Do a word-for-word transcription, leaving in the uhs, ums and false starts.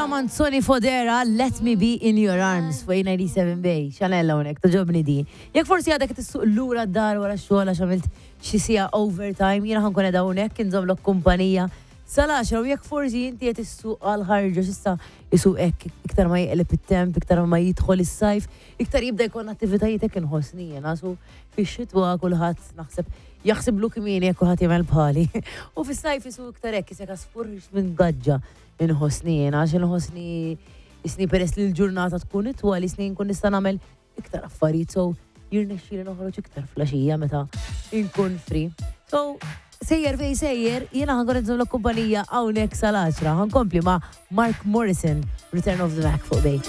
Manzoni Fodera, "Let Me Be In Your Arms" fuq ninety-seven Bay. Chanel hawnhekk, togħġobni di. Jekk forsi għadek tissuq lura d-dar wara x-xogħol għax għamilt xi siegħa overtime, jiena ħa nkun qiegħda hawnhekk inżommlok kumpanija sal-għaxra u jekk forsi inti qed issuq għal ħarġa x'issa isuq hekk iktar ma jeqleb it-temp, iktar ma jidħol is-sajf, iktar jibda jkun attivitajiet, hekk inħossni jiena, su fix-xitwa kulħadd naħseb jaħsiblu kmieni jekk kulħadd jagħmel bħali. U fis-sajf isu iktar hekk isek għasfur minn gaġġa inħossni jiena, għax inħossni isni peress li l-ġurnata tkun itwal, isni nkun nista' nagħmel iktar affarijiet, so jirnexxieli noħroġ iktar filgħaxija meta nkun free. So, sejjer fej sejjer, jiena ħa nkun inżommlok kumpanija hawnhekk sal-għaxra. Ħa nkompli ma' Mark Morrison, "Return of the Mac" fuq Bay.